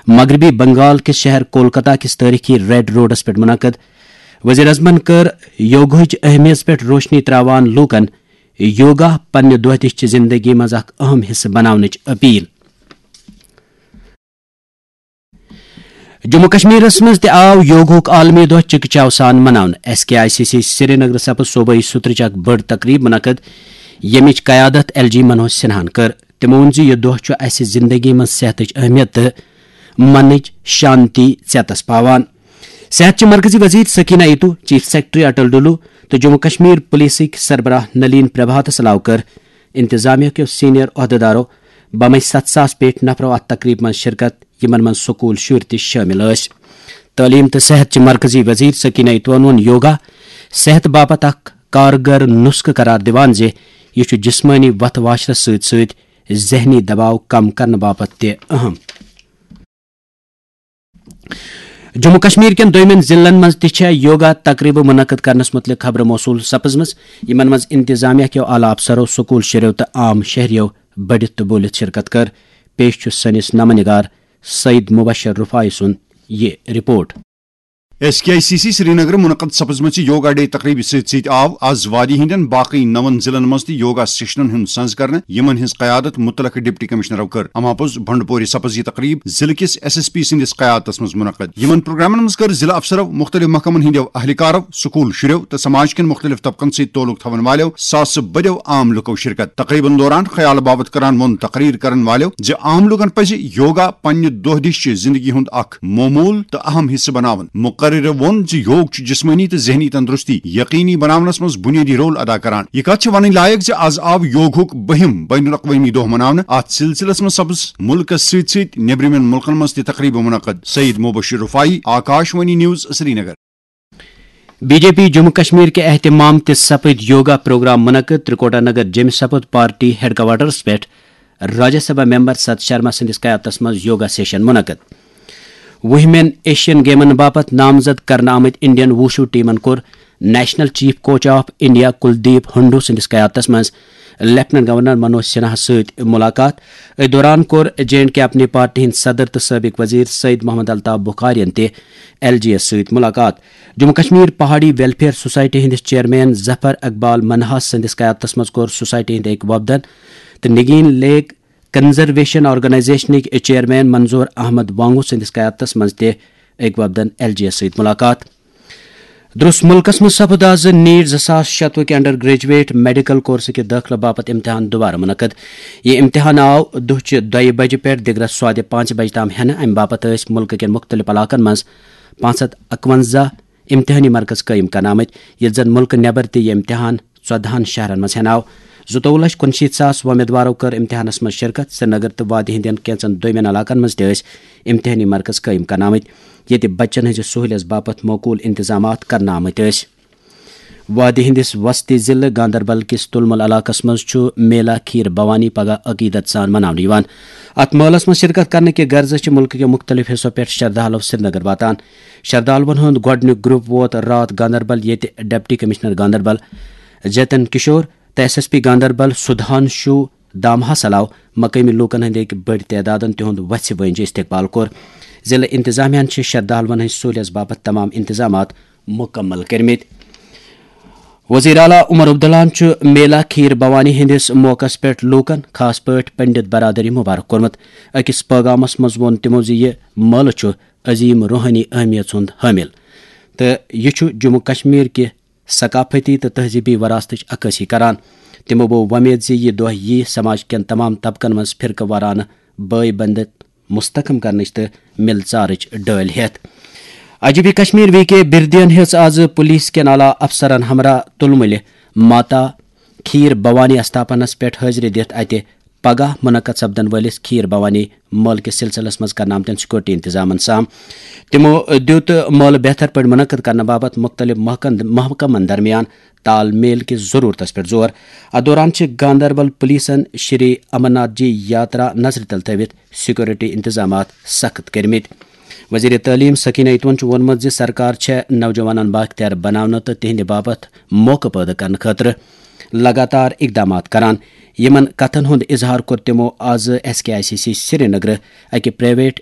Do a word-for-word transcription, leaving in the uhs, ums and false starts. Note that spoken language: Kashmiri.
مغربی بنگال کِس شہر کولکتہ کِس تٲریخی ریڈ روڈس پٮ۪ٹھ منعقد۔ وزیر اعظمن کٔر یوگہٕچ اہمیت پٮ۪ٹھ روشنی تراوان لوٗکن یوگا پننہِ دۄہ دِش چہِ زندگی منٛز اکھ اہم حصہٕ بناونٕچ اپیل۔ جموں کشمیرس منٛز تہِ آو یوگہُک عالمی دۄہ چکہ چاو سان مناونہٕ۔ S K I C C Srinagar سپز صوبٲئی سترٕچ اکھ بٔڑ تقریب منعقد، ییٚمِچ قیادت ایل جی منوج سنہاہن کٔر۔ تٔمۍ ووٚن زِ یہِ دۄہ چھُ اسہِ زندگی منٛز صحتٕچ اہمیت تہٕ منٕچ شانتی ژیتس پاوان۔ صحت چہِ مرکزی وزیر سکینہ ایتو، چیف سیکرٹری اٹل ڈلو تہٕ جموں کشمیر پولیسٕکۍ سربراہ نلین پربھاتس علاوٕ کٔر انتظامیہ کیو سینئر عہدیدارو بمے ستھ ساس پیٹھ نفرو اتھ تقریبہِ منٛز شرکت، یِمن منٛز سکول شُرۍ تہِ شٲمِل ٲسۍ۔ تعلیم تہٕ صحت چہِ مرکزی وزیر سکینہ ایتوَن ووٚن یوگا صحت باپتھ اکھ کارگر نسخہٕ قرار دِوان زِ یہِ چھُ جسمٲنی وتھ واشرس سۭتۍ سۭتۍ ذہنی دباو کم کرنہٕ باپتھ تہِ اہم۔ جموں کشمیر کٮ۪ن دویمٮ۪ن ضلعن منٛز تہِ چھےٚ یوگا تقریبہٕ منعقد کرنس متعلق خبرٕ موصول سپزمٕژ، یِمن منٛز انتظامیہ کیو اعلیٰ افسرو، سکول شُرٮ۪و تہٕ عام شہریو بٔڑِتھ تہٕ بوٗلِتھ شرکت کٔر۔ پیش چھُ سٲنِس نامہ نگار سعید مبشر رفاعی سُنٛد یہِ report. S K I C C Srinagar منعقد سپزمٕژ یوگا ڈے تقریبہِ سۭتۍ سۭتۍ آو از وادی ہٕنٛدٮ۪ن باقٕے نَوَن ضلعن منٛز تہِ یوگا سیشنن ہُنٛد سنز کرنہٕ، یِمن ہٕنٛز قیادت متعلقہٕ ڈپٹی کمشنرو کٔر۔ اما پوٚز بھنڈپوری سپز یہِ تقریب ضلعہٕ کِس ایس ایس پی سٕنٛدِس قیادتس منٛز منعقد۔ یِمن پروگرامن منٛز کٔر ضلعہٕ افسرو، مختلف محکمن ہٕنٛدٮ۪و اہلکارو، سکول شُرٮ۪و تہٕ سماج کٮ۪ن مختلف طبقن سۭتۍ تعلق تھاون والٮ۪و ساسہٕ بٔدٮ۪و عام لُکو شرکت۔ تقریبن دوران خیال باوت کران ووٚن تقریر کرن والٮ۪و زِ عام لوٗکن پزِ یوگا پننہِ دۄہ دِش چہِ زندگی ہُنٛد اکھ معموٗل تہٕ اہم حصہٕ بناوُن۔ مقررو ووٚن زِ یوگ چھُ جسمٲنی تہٕ ذہنی تندرستی یقینی بناونس منٛز بنیٲدی رول ادا کران۔ یہِ کتھ چھِ ونٕنۍ لایق زِ از آو یوگہُک بٔہِم بین الاقوٲمی دۄہ مناونہٕ۔ اتھ سلسلس منٛز سپز مُلکس سۭتۍ سۭتۍ نیبرِمٮ۪ن مُلکن منٛز تہِ تقریبہٕ منعقد۔ Saeed Mubashir Rifai, Akashvani news, Srinagar. B J P Jammu Kashmir کہِ اہتمام تہِ سپٕدۍ یوگا پروگرام منعقد۔ ترکوٹا نگر جیمہِ سپُد پارٹی ہیڈ کوارٹرس پٮ۪ٹھ راجیہ سبھا ممبر ست شرما سٕنٛدِس قیادتس منٛز یوگا سیشن منعقد۔ وُہمٮ۪ن ایشین گیمن باپتھ نامزد کرنہٕ آمٕتۍ انڈین ووشو ٹیمن کوٚر national chief coach of India Kuldeep Handoo سٕنٛدِس قیادتس منٛز لیفٹیننٹ گورنر منوج سنہاہس سۭتۍ ملاقات۔ أتھۍ دوران کوٚر جے اینڈ کے اپنی پارٹی ہٕنٛدۍ صدر تہٕ سٲبق وزیر سعید محمد الطاف بخارین تہِ ایل جی یس سۭتۍ ملاقات۔ جموں کشمیر پہاڑی ویلفیئر سوسائٹی ہٕنٛدِس چیئرمین ظفر اقبال منہاس سٕنٛدِس قیادتس منٛز کوٚر سوسائٹی ہٕنٛدۍ أکۍ وفدن تہٕ نگین لیک کنزرویشن آرگنائزیشنٕکۍ چیئرمین منظور احمد وانگو سٕنٛدِس قیادتس منٛز تہِ أکۍ وفدن ایل جی یس سۭتۍ ملاقات۔ درس ملکس منٛز سپُد از نیٹ زٕ ساس شتوُہ کہِ انڈر گریجویٹ میڈیکل کورسہٕ کہِ دٲخلہٕ باپتھ امتحان دوبارٕ منعقد۔ یہِ امتحان آو دُہچہِ دۄیہِ بجہِ پٮ۪ٹھ دِگرس سوادِ پانٛژِ بجہِ تام ہٮ۪نہٕ۔ امہِ باپتھ ٲسۍ مُلکہٕ کٮ۪ن مُختٔلِف علاقن منٛز پانٛژھ ہتھ اکونزہ امتحٲنی مرکز قٲیِم کرنہٕ آمٕتۍ، ییٚلہِ زن مُلکہٕ نٮ۪بر تہِ یہِ امتحان ژۄدہن شہرن منٛز ہٮ۪نہٕ آو۔ زٕتووُہ لچھ کُنشیٖتھ ساس وۄمیدوارو کٔر امتحانس منٛز شرکت۔ سرینگر تہٕ وادی ہٕنٛدٮ۪ن کینٛژن دویمٮ۪ن علاقن منٛز تہِ ٲسۍ امتحٲنی مرکز قٲیِم کرنہٕ آمٕتۍ، ییٚتہِ بچن ہٕنٛزِ سہوٗلیژ باپتھ معقول انتظامات کرنہٕ آمٕتۍ ٲسۍ۔ وادی ہٕنٛدِس وسطی ضلعہٕ گاندربل کِس تُلمُل علاقس منٛز چھُ میلا کھیٖر بھوانی پگاہ عقیدت سان مناونہٕ یِوان۔ اتھ مٲلس منٛز شرکت کرنہٕ کہِ غرضہٕ چھِ مُلکہٕ کٮ۪و مُختٔلِف حصو پٮ۪ٹھ شردھالو سرینگر واتان۔ شردھالوَن ہُنٛد گۄڈٕنیُک گروپ ووت راتھ گاندربل، ییٚتہِ ڈپٹی کمشنر گاندربل جتن کشور تہٕ S S P Ganderbal Sudhanshu دامہس علاوٕ مقٲمی لوٗکن ہٕنٛدِ أکۍ بٔڑۍ تعدادن تِہُنٛد وژھِ وٲنٛجہِ استقبال کوٚر۔ ضلعہٕ انتظامیہ ہَن چھِ شردھالوَن ہٕنٛزِ سہوٗلیژ باپتھ تمام انتظامات مُکمل کٔرمٕتۍ۔ وزیر اعلیٰ عمر عبداللہَن چھُ میلا کھیٖر بھوانی ہٕنٛدِس موقعس پٮ۪ٹھ لوٗکَن، خاص پٲٹھۍ پنڈت برادری مبارک کوٚرمُت۔ أکِس پٲغامَس منٛز ووٚن تِمَو زِ یہِ مٲلہٕ چھُ عظیٖم روحٲنی اہمیت ہُنٛد حٲمِل تہٕ یہِ چھُ جموں کشمیر کہِ ثقافتی تہٕ تہذیٖبی وراثتٕچ عکٲسی کران۔ تِمَو بوو وۄمید زِ یہِ دۄہ یِیہِ سماج کٮ۪ن تمام طبقن منٛز فرقہٕ وارانہٕ بٲے بنٛدت مستحکم کرنٕچ تہٕ مِل ژارٕچ ڈٲلۍ ہٮ۪تھ۔ I G P Kashmir V K بردین ہیٚژ آز پولیس کٮ۪ن اعلیٰ افسرن ہمراہ تُلمُلہِ ماتا کھیٖر بھوانی استھاپنس پٮ۪ٹھ حٲضرِ دِتھ اتہِ پگاہ منعقد سپدن وٲلِس کھیٖر بھوانی مٲلہٕ کِس سلسلس منٛز کرنہٕ آمتٮ۪ن سیکورٹی انتظامن سام۔ تِمو دِیُت مٲلہٕ بہتر پٲٹھۍ منعقد کرنہٕ باپتھ مُختٔلِف محکن-، محکمن درمیان تال میل کِس ضروٗرتس پٮ۪ٹھ زور۔ اتھ دوران چھِ گاندربل پولیسن شری امرناتھ جی یاترا نظرِ تل تھٲوِتھ سیکورٹی انتظامات سخت کٔرمٕتۍ۔ وزیر تعلیم سکینہ ایتون چھُ ووٚنمُت زِ سرکار چھےٚ نوجوانن بااختیار بناونہٕ تہٕ تِہنٛدِ باپتھ موقعہٕ پٲدٕ کرنہٕ خٲطرٕ لگاتار اقدامات کران۔ یِمن کتھن ہُنٛد اظہار کوٚر تِمو آز S K I C C سرینگرٕ اکہِ پرائیویٹ